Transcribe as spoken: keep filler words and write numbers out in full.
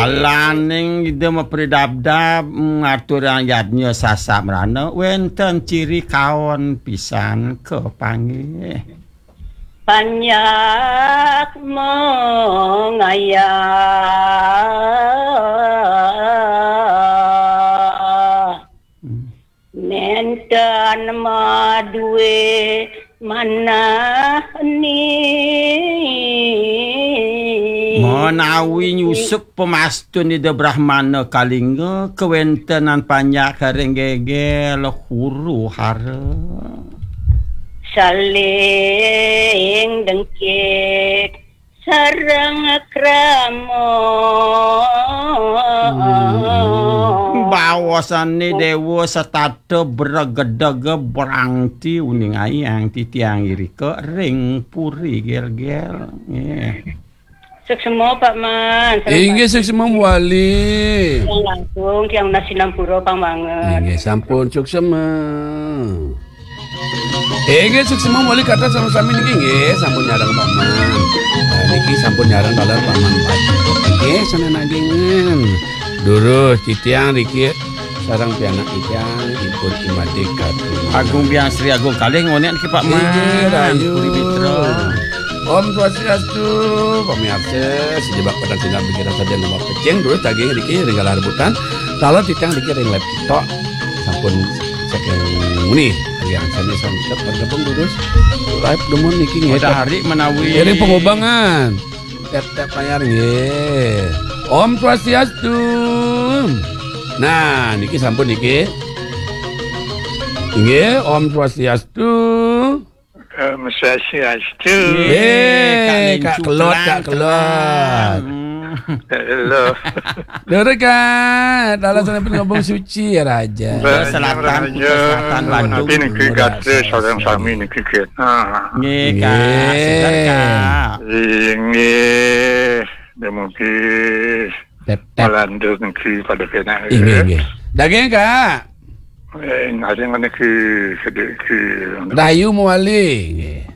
Laning Ida mapridabdab ngaturang yadnya sasamrana wénten ciri kaon pisan kapanggih. Panjak mangayah. Hmm. Nénten madué manah ni. Menawi nyusup pamastun Ida Brahmana Kalingga kawéntenan panjak ring gégél huru hara. Saling dengkit sareng krama. Hmm. Bawasané déwa setata bregedeg brangti uning ayang titiang irika ring puri gélgél. Nggih. Suksma, Pak Man. Sareng Inggih, Pak suksma wali. Tiang langkung, tiang nunas sinampura pang banget. Inggih, sampun suksma. Inggih, suksma wali kata sami-sami niki nggih, sampun nyareng Pak Man. Nah, niki sampun nyareng taler Pak Man. Nggih, sané nagingin. Durus titiang niki sareng pianak titiang ipun Imade Katu. Agung Biang Sri Agung Kalih ngonék niki Pak Man. Inggih, rahayu. Puri Mitra. Om Swastiastu, pamirsa, sejebak pada tinggal pikiran saja nomor pecing dulu daging niki ring galah rebutan. Taler titiang niki ring live TikTok. Sampun saking muni, yang sami sampun bergabung terus live demun niki nggih. Matahari menawi. Ring Pengobangan. Tep-tep layar nggih. Om Swastiastu. Nah, niki sampun niki. Nggih, Om Swastiastu. Om Swastiastu. Eh, Kak Kelot, Kak Kelot. Hmm. Halo. Lur, Kak, taler sampun ngobong suci ya, Raja. Selatan, Raja. Kuta Selatan, Bandung. Tapi niki gatra sareng sami niki, Kak. Ah. Nggih, Kak. Nggih. Seger, Kak. Inggih, dumugi Tep, tep. Malandur niki pada penak. Inggih, nggih. Daging, Kak. Eh, nasi niki sedikit. Rahayu mawali. Nggih.